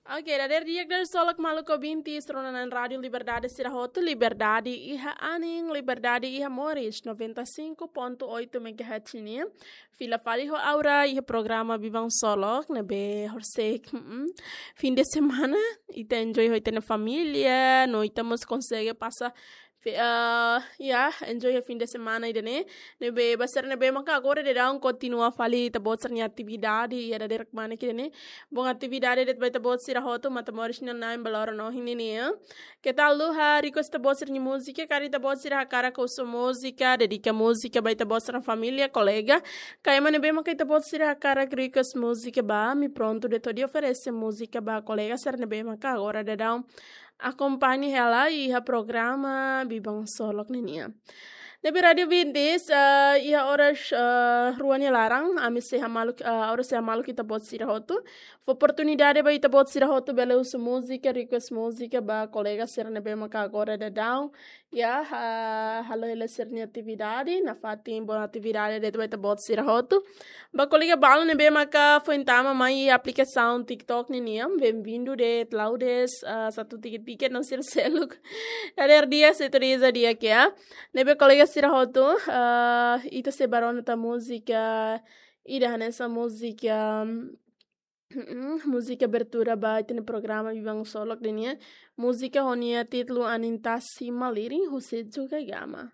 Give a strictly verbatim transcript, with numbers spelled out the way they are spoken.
Oke, dadeer di'ak, dadeer solok maluk ouvinte rona-na'in Rádio Liberdade sira hotu, liberdade iha anin, liberdade iha moris, noventa e cinco ponto oito megahertz nian. Fila fali ho Aura iha programa Biban Solok, ne'ebé horisehik, mm, fim de semana, ita enjoy ho ita-nia família, no ita mós konsege pasa fe-, ah, ya, enjoy ho fim de semana ida-ne'e. Ne'ebé ba sira ne'ebé maka agora daudaun kontinua fali ita-boot sira-nia atividade, ya, dadeer kmanek ida-ne'e. Bom atividade de'it ba ita-boot sira hotu, matan moris nian na'in ba loron ohin nian, ya. Keta haluha request ita-boot sira-nia múzika, karik ita-boot sira hakarak husu múzika, dedika múzika ba ita-boot sira-nia família, kolega. Ka ema ne'ebé maka ita-boot sira hakarak request múzika ba, ami prontu de'it hodi oferese múzika ba kolega sira ne'ebé maka agora daudaun akompaña hela iha programa Biban Solok ninian. Ne'ebé rádio ouvintes, ah, iha oras, ah, rua nia laran, ami sei hamaluk, ah, oras sei hamaluk ita-boot sira hotu. Fó oportunidade ba ita-boot sira hotu bele husu múzika, request múzika ba kolega sira ne'ebé maka agora daudaun, ya, ha-, halo hela sira-nia atividade, nafatin bom atividade de'it ba ita-boot sira hotu. Ba kolega balu ne'ebé maka foin tama mai aplikasaun TikTok ninian, bem-vindo de'it, la'ós, ah, satu tiket-tiket no sira seluk. Dadeer di'ak, setu diza di'ak, ya. Ne'ebé kolega sira hotu, ah, ita sei bá rona tan múzika, ida hanesan múzika, mm, múzika abertura ba ita-nia programa Biban Solok ninian. Múzika ho nia títulu Anin Tasi Malirin, husi Juga Gama.